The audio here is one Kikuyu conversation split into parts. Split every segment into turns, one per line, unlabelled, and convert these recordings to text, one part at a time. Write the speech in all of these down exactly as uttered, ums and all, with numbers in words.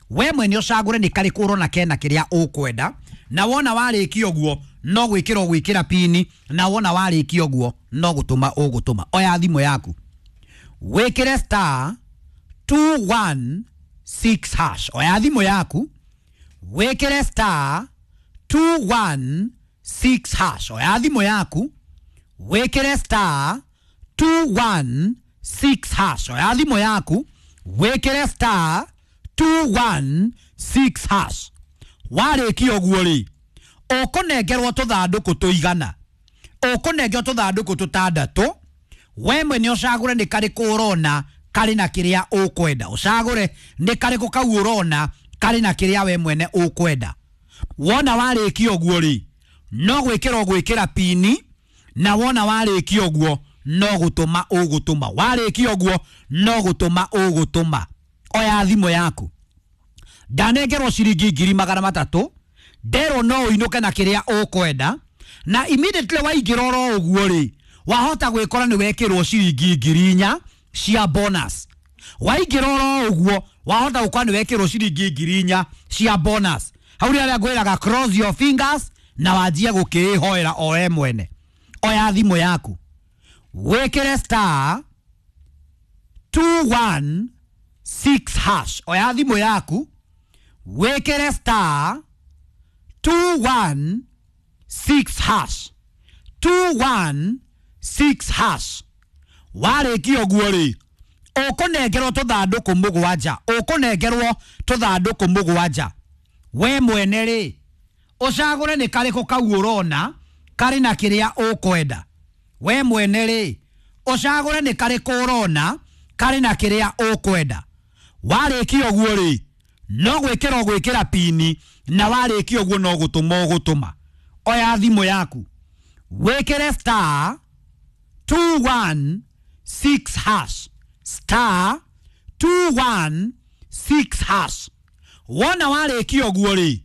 We mwene ũcagũre nĩ karĩkũ ũrona kena kĩrĩa ũkwenda, na wona warĩkia ũguo no gwĩkĩra ũgwĩkĩra pini, na wona warĩkia ũguo no gũtũma ũgũtũma. Oya thimũ yaku wĩkĩre star two one six hash. Oya thimũ yaku wĩkĩre star two one six hash. Oya thimũ yaku wĩkĩre star two one six hash. Oya thimũ yaku wĩkĩre star two one six hash. Warĩkia ũguo rĩ, ũkũnengerwo tũthandũkũ tũigana, ũkũnengerwo tũthandũkũ tũtandatũ. We mwene ũcagũre nĩ karĩkũ ũrona karĩ na kĩrĩa ũkwenda, ũcagũre nĩ karĩkũ kau ũrona karĩ na kĩrĩa we mwene ũkwenda. Wona warĩkia ũguo rĩ, no gwĩkĩra ũgwĩkĩra pini, na wona warĩkia ũguo no gũtũma ũgũtũma. Warĩkia ũguo no gũtũma ũgũtũma. Oya thimũ yaku, ndanengerwo ciringi ngiri magana matatũ, nderwo no ũinũke na kĩrĩa ũkwenda, na immediately waingĩra oro ũguo rĩ, wahota gwĩkora nĩ wekĩrwo ciringi ngiri inya cia bonus. Waingĩra oro ũguo wahota gũkora nĩ wekĩrwo ciringi ngiri inya cia bonus. Hau rĩ arĩa ngwĩraga cross your fingers na wanjie gũkĩĩhoera o we mwene. Oya thimũ yaku wĩkĩre star two one six hash. Oya thimũ yaku wĩkĩre star two one six hash. two one six hash. Warĩkia ũguo rĩ, ũkũnengerwo tũthandũkũ mũgwanja, ũkũnengerwo tũthandũkũ mũgwanja. We mwene rĩ, ũcagũre nĩ karĩkũ kau ũrona karĩ na kĩrĩa ũkwenda. We mwene rĩ, ũcagũre nĩ karĩkũ ũrona karĩ na kĩrĩa ũkwenda. Warĩkia ũguo rĩ, no gwĩkĩra ũgwĩkĩra pini, na warĩkia ũguo no gũtũma ũgũtũma. Oya thimũ yaku wĩkĩre star two one six hash. Star two one six hash. Wona warĩkia ũguo rĩ,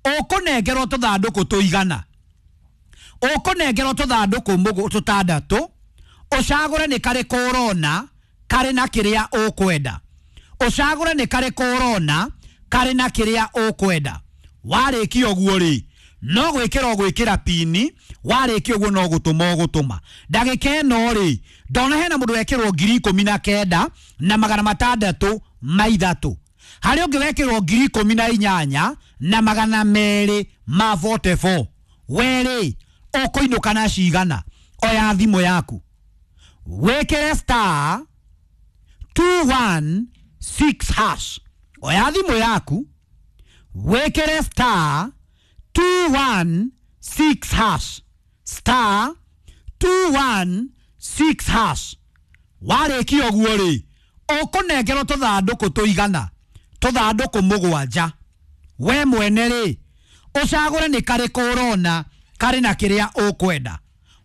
ũkũnengerwo tũthandũkũ tũigana, ũkũnengerwo tũthandũkũ tũtandatũ, ũcagũre nĩ karĩkũ ũrona karĩ na kĩrĩa ũkwenda. Ũcagũre nĩ karĩkũ ũrona karĩ na kĩrĩa ũkwenda. Warĩkia ũguo rĩ, no gwĩkĩra ũgwĩkĩra pini, warĩkia ũguo no gũtũma ũgũtũma. Ndagĩka ĩno rĩ, ndona hena mũndũ wekĩrwo ngiri ikũmi na kenda na magana matandatũ ma ithatũ, harĩ ũngĩ wekĩrwo ngiri ikũmi na inyanya na magana merĩ ma forty four. We rĩ, ũkũinũka na cigana? Oya thimũ yaku wĩkĩre star two one six hash. Oya thimũ yaku wĩkĩre star two one six hash. Star two one six hash. Warĩkia ũguo rĩ, ũkũnengerwo tũthandũkũ tũigana, tũthandũkũ mũgwanja. We mwene rĩ, ũcagũre nĩ karĩkũ ũrona karĩ na kĩrĩa ũkwenda.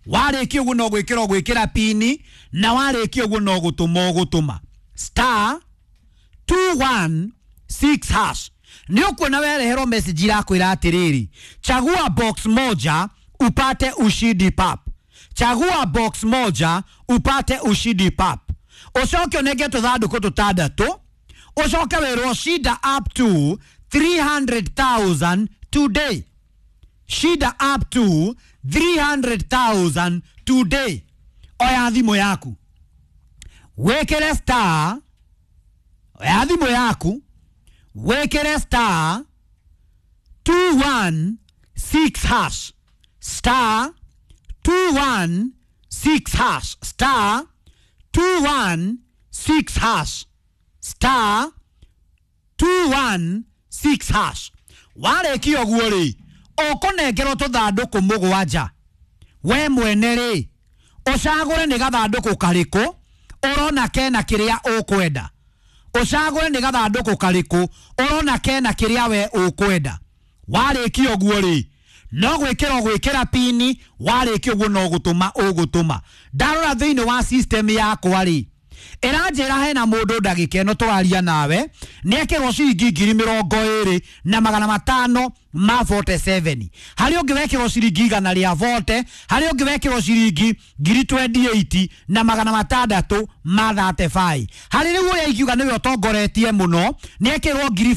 Warĩkia ũguo no gwĩkĩra ũgwĩkĩra pini, na warĩkia ũguo no gũtũma ũgũtũma. Star two one six hash. Nĩ ũkuona wereherwo message irakwĩra atĩrĩrĩ, chagua box moja upate ushindi pap. Chagua box moja upate ushindi pap. Ũcoke ũnenge tũthandũkũ tũtandatũ, ũcoke wĩrwo shida up to three hundred thousand today. Shida up to three hundred thousand today. Oya thimũ yaku wĩkĩre star, oya thimũ yaku wĩkĩre star two one six hash. Star two one six hash. Star two one six hash. Star two one six hash. Warĩkia ũguo rĩ, ũkũnengerwo tũthandũkũ mũgwanja. We mwene rĩ, ũcagũre nĩ gathandũkũ karĩkũ ũrona kena kĩrĩa ũkwenda. Ũcagũre nĩ gathandũkũ karĩkũ ũrona kena kĩrĩa we ũkwenda. Warĩkia ũguo rĩ, no gwĩkĩra ũgwĩkĩra pini, warĩkia ũguo no gũtũma ũgũtũma. Ndarora thĩinĩ wa system yakwa rĩ, ĩranjĩra hena mũndũ ndagĩka ĩno tũraria nawe nĩekĩrwo ciringi ngiri mĩrongo ĩrĩ na magana matano ma forty seven, harĩ ũngĩ wekĩrwo ciringi igana rĩa forty, harĩ ũngĩ wekĩrwo ciringi ngiri twenty eight na magana matandatũ ma thirty five, harĩ rĩu ũrĩa ingiuga nĩwe ũtongoretie mũno nĩekĩrwo ngiri